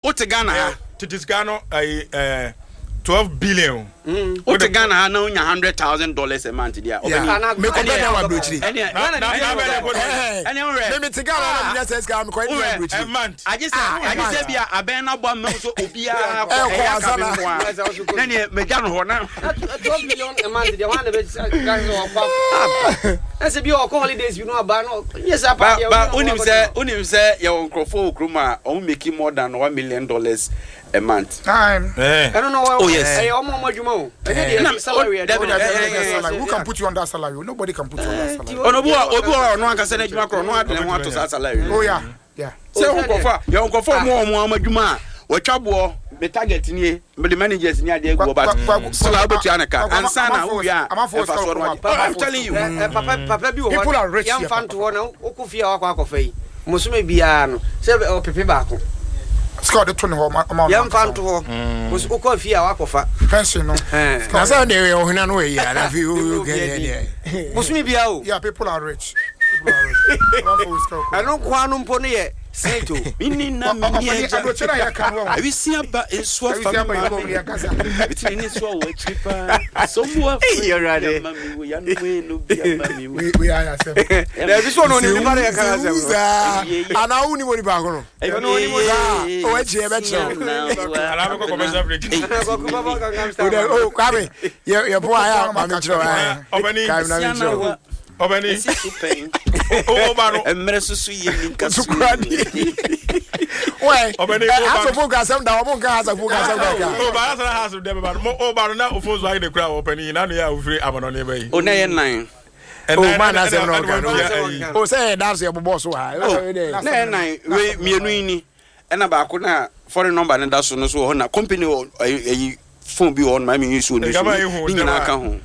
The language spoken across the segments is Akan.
Wote Ghana ha. Tete sika no ayi ɛɛ 12 billion. Wote Ghana ha na wonya $100,000 a month deɛ a, ɔbɛni. Mekɔ bɛ dan wɔ aburokyiri. Ɛne ɛne worɛ. Me mete Ghana na menya sɛ sika mekɔ ɛne aburokyiri. A month. Agye sɛ agye sɛ bi a abɛn na bɔ ama so obiara kɔ ɛyɛ aka me nko a. Na neɛ magya no hɔ na. 12 million a month deɛ wɔn na bɛ sɛ ɔkɔ. Ɛsɛ bi ɔkɔ holidays bi no aba no. Nyɛ saa paa deɛ. Ba wonim sɛ wonim sɛ yɛwɔ nkurɔfoɔ wɔ kurom a wɔn making more than $1 million a month. Time. Ɛno no Oh yes. Ɛyɛ wɔn wɔn adwuma o. Ɛnyɛ deɛ Ɛna salary ɛde. Dabi dabi. Who can put you on that salary? Nobody can put you on that salary. Ɔno obi wɔ obi wɔ ɔno ankasa n'adwuma korɔ ɔno ade ne ho ato saa salary. Oh yeah. Yeah. Sɛ wɔn nkurɔfoɔ a yɛwɔ nkurɔfoɔ a wɔn wɔn adwuma a wɔatwa boɔ me target nie mede managers ni adeɛ agu hɔ but still a wobɛtua ne ka ansa na wowie a mfasoɔ no wagye. Oh, I'm telling you. Papa papa bi wɔ People hɔ are rich here, yɛmfa papa. nto hɔ na wokɔ fie a wakɔ akɔfa yi bosome biara no sɛ ɔpepe baako Sika ɔde to ne hɔ ɔma ɔno yɛmfa ankasa. nto hɔ wokɔ fie a wakɔfa Pension no. Ɛn. Sika Na ɔde- sɛ ɔde ɔhene no wɔ yi a na afei o Obi kɛ adi. deɛ. Bosome biara o. Yeah, people are rich. People are rich. Amanfoɔ wɔ sika wɔ kurom. Ɛno nko ara no mpo no yɛ snake o. Mini na mini agya. Aburokyire na yɛka no wɔ ho. Awisia ba nsuo afa Awisia me ba maame. yɛ kasa. Bitiri ne nsuo wɔ akyiri paa. Somu Ei, Awurade. afre ama mi wo yanu enu bi ama mi wo. We we are yourself. Dabi so ɔno onim nipa na yɛka no asɛm no. Saa anaa wo ni mo nipa ko no. Ɔno onim o. Saa o akyi ɛbɛkyerɛ wo. Anaa bɛkɔ commercial break. Kwaku Baba Gangnam Style. O dɛ o Kwame yɛ yɛ po ayɛ a maame kyerɛ wo ayɛ. Ɔbɛni. Kwame na me kyerɛ wo. Ɔbɛni. Esi so pɛn. Ɔba no. Mmerɛ soso yɛ mi nka so. Sukura di. Wɛ Ɔbɛni, ɔba no. asofo nka asɛm da ɔmo nka asafo nka asɛm da ka. Ɔba asana ha so dɛ bɛba no. Mo ɔba no na ofon so ayɛ de kura ɔpɛni yi na no yɛ a ofiri amanɔne bɛ yi. O na yɛ nan. O maa na asɛm na ɔka no. O sɛ yɛ da so yɛ bobɔ so ha. O na yɛ nan wei mmienu yi ni ɛna baako na foreign number no da so no so wɔ hɔ na company wɔ ɛyi phone bi wɔ hɔ no maa mi yi so oni so ne nyinaa ka ho.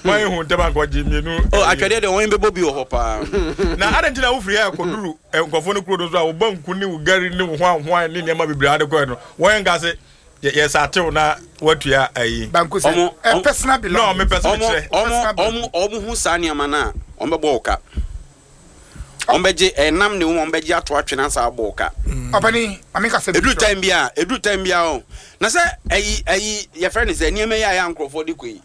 Maa ehu ntɛm ankɔgye mmienu. O atwadeɛ deɛ wɔn bɛbɔ bi wɔ hɔ paa. Na adan ti na wofiri ha kɔduru nkurɔfoɔ no kuro no so a wo banku ne wo gari ne wo hwanhwan ne nneɛma bebree ade kɔɛ no wɔn nka se yɛ sɛ atew na watua ayi. Banku sɛ ɛ personal belongings. No mepɛ sɛ mekyerɛ. Ɔmo ɔmo ɔmo hu saa nneɛma no a wɔn bɛbɔ wo ka. Wɔn bɛgye ɛnam ne wɔn bɛgye ato atwene asa abɔ wo ka. Ɔpɛni maame ka sɛ. Eduru time bi a eduru time bi a o na sɛ ɛyi ɛyi yɛfrɛ ne sɛ nneɛma yi a yɛ nkorɔfoɔ de kɔ yi.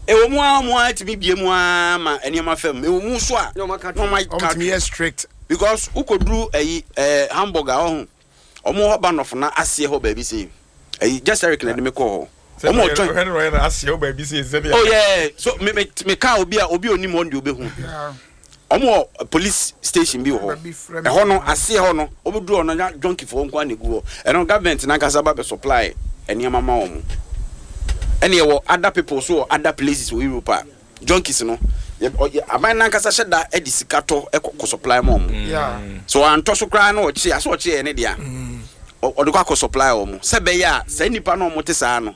Ɛwɔ mu ara wɔn ara tumi bie mu ara ma nneɛma fam. Ɛwɔ mu nso a na wɔn aka Wɔn tumi yɛ strict. Because wokɔduru ɛyi ɛɛ Hamburg a ɔho wɔn hɔ ba nɔfo na aseɛ hɔ baabi sei ɛyi just Eric na ɛde me kɔɔ hɔ. Wɔn ɔtwɛn. Ɔhwɛ no ɔyɛ no aseɛ hɔ baabi sei sɛdeɛ. Oh yeah so me me me kaa obi a obi onim hɔ no deɛ obehu. Wɔn wɔ police station bi wɔ hɔ. Ɛhɔ no aseɛ hɔ no wɔbɛduru hɔ no na junkie foɔ nko ara na egu hɔ. Ɛno government nankasa ba bɛ supply nneɛma ma wɔn. Ɛna yɛwɔ other people so wɔ other places wɔ Europe a junkies no yɛ ɔ yɛ aban nankasa hyɛ da de sika tɔ kɔ kɔ supply ma wɔn. So wɔantɔ so koraa na ɔkye asɛ ɔkye yɛ ne dea ɔ ɔde kɔ akɔ supply wɔn sɛ ɛbɛyɛ a saa nnipa no a wɔte saa no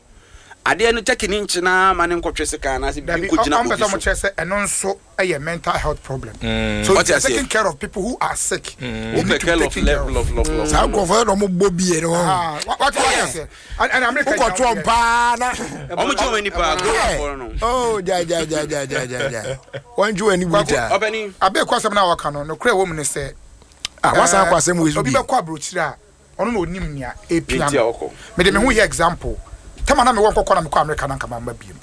adeɛ no turkey no nkye no ara ma no nkɔtwe sekan anaasɛ biribi Dabi, nkɔgyina ɔmpɛ obi sɛ so. ɔmo kyerɛ sɛ ɛno nso yɛ mental health problem. So Ɔte if you're aseɛ. taking care of people who are sick, they Wopɛ need to care be of taken care love of. love love love. Saa nkurɔfoɔ yɛ na ɔmo bɔ bie no hɔ. Ah, what what aseɛ? And America Wokɔto paa na. Ɔmo gye wɔn ani paa Goafoɔ no. Oh gya gya gya gya gya gya gya. Wɔn gye wɔn ani bu taa. Ɔbɛni. Abeku asɛm no a wɔka no, nokorɛ wɔ mu ne sɛ, Ah wasan akɔ asɛm wei so obi bio. bɛkɔ aburokyire a, ɔno na onim nea epia Nti a no. ɔkɔ. Mede me ho yɛ example. Tɛm a na mewɔ nkɔkɔ na mekɔ America na nka mamma biom.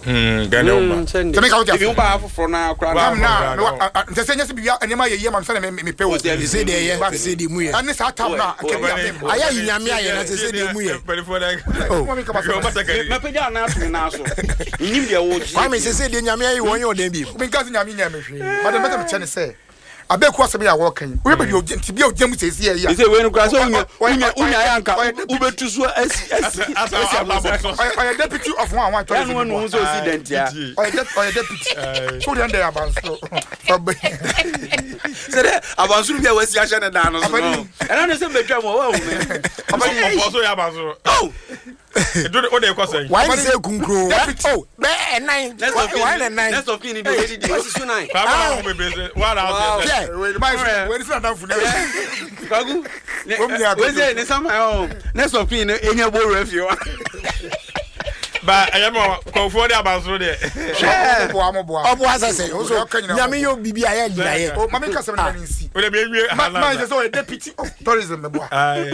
Ghana wo ba. Sɛ meka wote Ebi ase. wo ba afoforɔ no ara koraa na. Tam na mewɔ nkyɛ sɛ nyɛ sɛ biribi nneɛma yɛ yie ma me sɛdeɛ me mepɛ o. Sese deɛ ɛyɛ, But sese deɛ mu yɛ. ɛne saa tam no a nka bi a memma. Ayɛ ayi nyame ayɛ na sese deɛ mu yɛ. Mpanimfoɔ na Oh. Mo menka m'asɛm ase. Mɛpagya anaa ato me nan so. Menim deɛ woregye Kwame adie. sese deɛ nyame ayɛ wɔn nyɛ ɔdɛn bio. Menka sɛ nyame nyɛɛ me hwee but deɛ mepɛ sɛ mekyerɛ ne sɛ Abeku asɛm yi a wɔreka yi, wohwɛ baabi a ogyina, tebea a ogyina mu seesei yi a. Sɛ wei no koraa sɛ wonya Ɔyɛ- wonya ɔyɛ- wonya ayɛ anka ɔyɛ deputy- wobɛtu so asi asi asi abɔnten. ɔyɛ deputy of one one Ɛno tourism. ɛnu ho sɛ osi dɛntia. Ɔyɛ deputy. So deɛ ndɛ abansoro. Sɛ dɛ abansoro bi a wasi ahyɛ ne dan no so no. Ɛno ne sɛ mbɛtwa mu a wahu me. Ɔfɔ so yɛ abansoro. Oh! Edu o de kɔ sɛn. Wayɛ ne sɛ kunkun. Deputy. Oh bɛ ɛnan. Next of Wayɛ ne kin nan. next of kin ni de obedi di o. Wasi so nan. Kwame na ho bebree sɛ wa na ɔsɛ sɛ. Hwɛ. Wei ni wei ni sɛ nadamfo ne. Kwaku. Ne Wɔn nyinaa wei sɛ ne sama ɔ next of kin no enya bo wura fie wa. Ba ɛyɛ ma kɔnfoɔ de abansoro deɛ. Hwɛ. Mo boa mo boa. Ɔboa sɛ sɛ ɔso Ɔka nyinaa nyame yɛ obibi a yɛ gyina yɛ. O maame nkasa mi na ne nsi. O de mi ewie Ma ma sɛ sɛ ɔyɛ deputy of tourism meboa. Ayi.